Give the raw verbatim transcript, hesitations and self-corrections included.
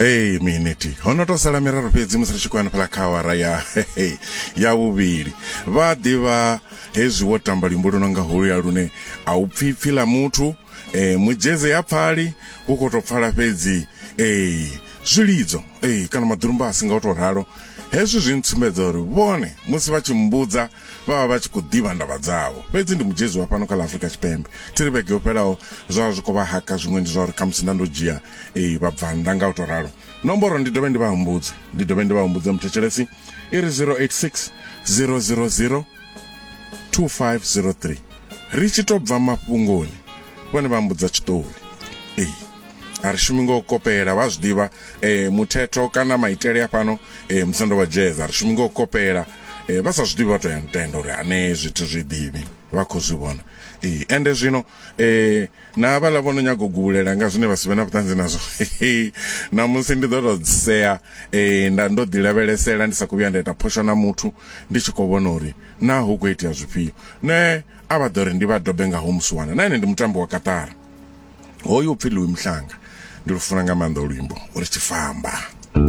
Ee miniti ho no to sala miraru fhedzi musi ri tshi khou hanefhala kha awara ya ya vhuvhili. Vha ḓivha hezwi wo tamba luimbo lu no nga holuya lune a u pfhi pfhi ḽa muthu, eh, mudzheze ya pfali hu khou tou pfala fhedzi eh, zwilidzo eh, kana maḓurumbasi nga u tou ralo. Hezwi zwi ntsumbedza uri vhone musi vha tshi mbudza vha vha vha tshi khou ḓivha ndavha dzavho. Fhedzi ndi mudzhezi wa fhano kha ḽa Afrika Tshipembe. Thi ri vhege yo fhelaho zwa zwi khou vha haka, zwiṅwe ndi zwa uri khamusi nda ndo dzhia eh, vhabvannḓa nga u tou ralo. Nomboro ndi dovhe ndi vha humbudze, ndi dovhe ndi vha humbudze muthetshelesi, i ri zero eight six zero zero zero two five zero three. Ri tshi tou bva mafhungoni vhone vha mbudza tshiṱori. Ee, a ri shumi ngo kopela, vha zwi ḓivha eh, muthetho kana maitele a fhano eh, musando wa jazz, a ri shumi ngo kopela. Eh, vha sa zwi ḓivhi vha to ya ntenda uri ane zwithu zwi ḓivhi vha khou zwi vhona. Ee, ende zwino eh, na vhaḽa vho no nyaga u guvhulela nga zwine vha si vhe na vhuṱanzi nazwo, namusi ndi ḓo tou sea eh, nda ndo ḓi lavhelesela ndi sa khou vhuya nda ita phosho na muthu, ndi tshi khou vhona uri na hu khou itea zwifhio. Nṋe a vha ḓo ri ndi vha dobe nga ho musiwana, na ene ndi mutambi wa Qatar. Hoyu upfhi Louis Mhlanga, ndi lufuna nga maanḓa luimbo uri tshifamba.